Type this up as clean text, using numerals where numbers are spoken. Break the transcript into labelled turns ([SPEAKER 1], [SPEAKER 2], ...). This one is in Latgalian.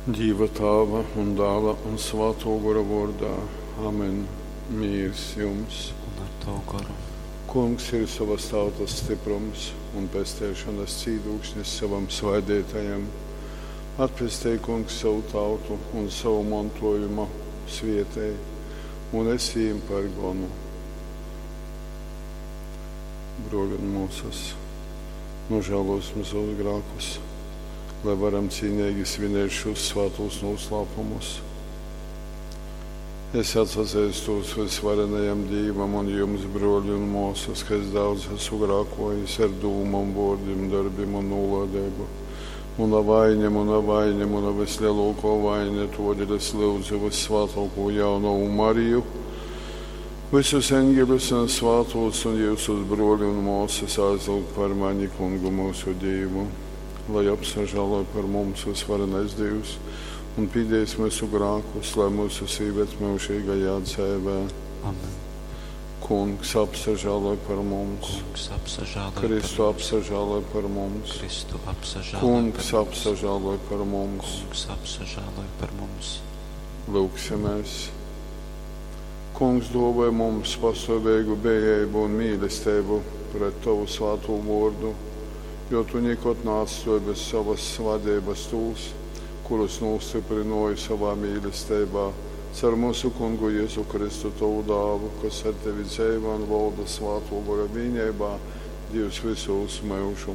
[SPEAKER 1] Dīva Tāva un Dāla un Svātō Gora vōrdā. Amen. Mīrs jums.
[SPEAKER 2] Un ar tavu goru.
[SPEAKER 1] Kungs ir sovas tautas stiprums un pesteišonas cīdūkšnis sovam svaideitajam. Atpestej, Kungs, sovu tautu un savu montojumu svietej, un esi jim par gonu. Bruoļi un muosys, nožēlosim savus grākus, lai varam cīnīgi svinēt šos svātos noslēpumus. Es atsazīstos visvarenajam Dīvam un jums, bruoļi un muosys, ka es daudz esmu grākojis ar dūmom, vuordim, darbim un nūlādeibu. Muna vaine, muna vaine, muna vislielākā vaine, todēļ es lūdzu vissvātāko jaunavu Mariju, visus eņģeļus un svātos un jūsus bruoļi un muosys aizlūgt par mani kungu mūsu Dīvu, lai apsažāloj par mums visvarenais Dīvs un pīdējis mūsu grākus, lai mūsu īved mūžīgajā dzēvē.
[SPEAKER 2] Amen.
[SPEAKER 1] Kungs apsažāloj par mums.
[SPEAKER 2] Kungs apsažāloj
[SPEAKER 1] Kristu
[SPEAKER 2] par mums.
[SPEAKER 1] apsažāloj par mums.
[SPEAKER 2] Kristu apsažāloj
[SPEAKER 1] Kungs
[SPEAKER 2] par mums.
[SPEAKER 1] apsažāloj par mums.
[SPEAKER 2] Kungs apsažāloj par mums.
[SPEAKER 1] Lūksimies. Kungs dāvāj mums pastāvīgu bejību un mīlestību pret Tavu svāto vārdu, jo Tu nekad neatstāji bez savas vadības tos, kurus nostiprināji savā mīlestībā. Car mūsu kungu Jēzu Kristu, Tavu dāvu, kas ar Tevi dzīvo un valda svāto gara vienībā, Dievs visos mūžu.